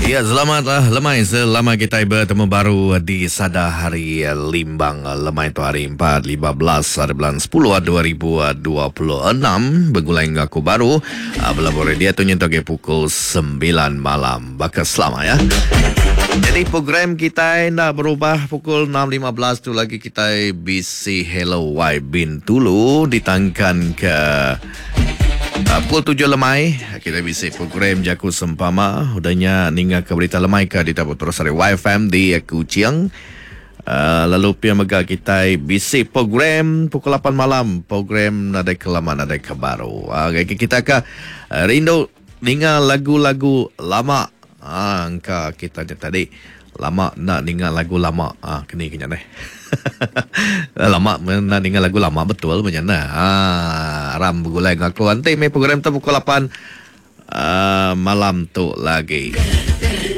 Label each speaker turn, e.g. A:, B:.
A: Ya, selamat lah lemai selama kita bertemu baru di Sada Hari Limbang lemai tu hari 4 15 hari bulan 10 2026 begulai enggau aku baru ah, bela dia tu nyentuk ke pukul 9 malam baka selama ya. Jadi program kita enda berubah pukul 6.15 tu lagi kita bisi Hello Y Bintulu ditangkan ke Pukul tujuh lemai, kita bisi program Jaku Sempama. Udah nya ninga ke berita lemai ke ditabur terus ari YFM di Kuching. Uh, lalu pia mega kitai bisi program pukul 8 malam, program nadai ke lama nadai ke baru. Uh, kita ke rindu ninga lagu-lagu lama. Ah, engka kita nya tadi lama enda ninga lagu lama. Ah, keni ke nya neh. lama enda ninga lagu lama betul meh nya neh. Ah, aram begulai enggau aku. Enti meh program tu pukul 8 uh, ah, malam tu lagi.